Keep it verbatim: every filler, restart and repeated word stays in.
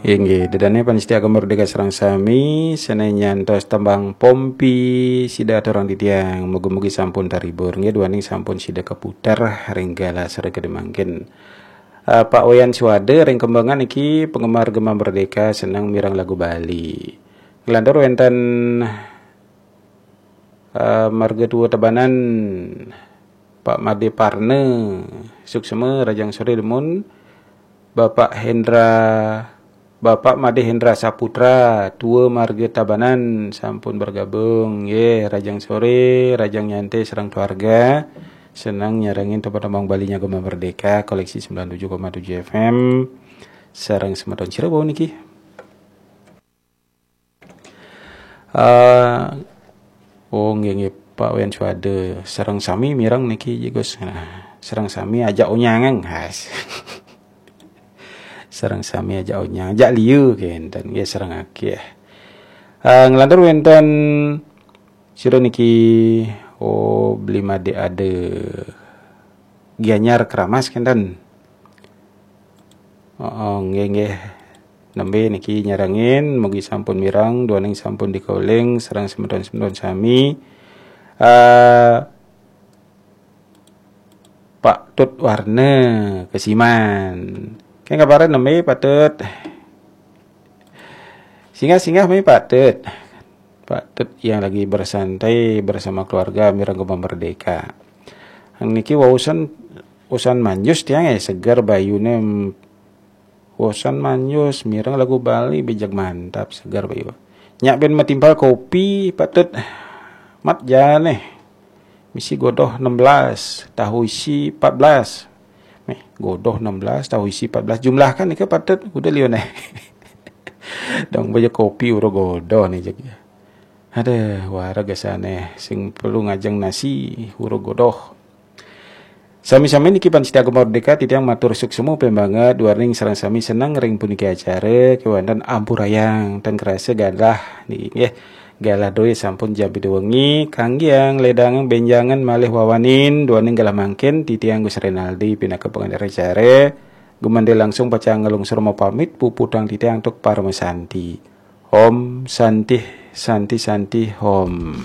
Inggih, ida dané pamiarsa Gema Merdeka sareng sami, sané nyantos tembang Pompi sida aturang titiang, mugi-mugi sampun terhibur nggih, duaning sampun sida kaputer ring galah sore kadi mangkin. Eh, Pak Wayan Suwada ring Kembangan niki penggemar Gema Merdeka, seneng mireng lagu Bali. Nglantur wénten eh, marga tua Tabanan, Pak Made Parna, suksma, rahajeng sore dumun, Bapak Hendra, Bapak Made Hendra Saputra, tua marga Tabanan, sampun bergabung. Nggih, rahajeng sore, rahajeng nyantai sareng keluarga. Seneng nyarengin tembang-tembang Bali nya Gema Merdeka, koleksi sembilan tujuh koma tujuh F M. Sareng semeton sira wau niki. Eh, oh, nggih, nggih, Pak Wayan Suwada. Sareng sami mireng niki, Gus. Nah, sareng sami ajak onyangan, has. Sareng sami ajak onyang, ajak liu kénten, nggih, sareng akeh. Eh, nglantur wénten sira niki, oh, Beli Made Ada. Gianyar Keramas kénten. Oh, nggih, nggih. Nembé niki nyarengin, mugi sampun mireng, duaning sampun dikauling, sareng semeton-semeton sami. Eh, Pak Tut Warna Kesiman. Kén kabaré nembé, Pak Tut? Singgah-singgah mé, Pak Tut. Pak Tut yang lagi bersantai bersama keluarga mireng Gema Merdeka. Niki wausan usan manjus tiang, eh, seger bayuné, mm, wausan manjus mireng lagu Bali, bijak mantap, seger bayu. Nyak bén matimpal kopi, Pak Tut. Mat jané. Misi godoh enam belas, tahu isi empat belas. Méh, godoh enam belas, tahu isi empat belas. Jumlahkan nika, Pak Tut, udah liu né. Dong baja kopi ura godoh né, jeg. Aduh, wara gasané sing perlu ngajeng nasi ura godoh. Sami-sami niki pamiarsa Gema Merdeka, titiang matur suksma pembanget, duaning sareng sami seneng ring puniki acara, kéwanten ampurayang, tan kerasa galah niki nggih. Galah doi sampun jam pitu wengi, kanggiang, ledangan, bénjangan, malih wawanin, duaning galah mangkin, titiang Gus Renaldi pinaka pangandika acara, gumanti langsung pacang nglungsur mapamit, puputang titiang antuk paramasanti. Om Santih, Santih, Santih, Om.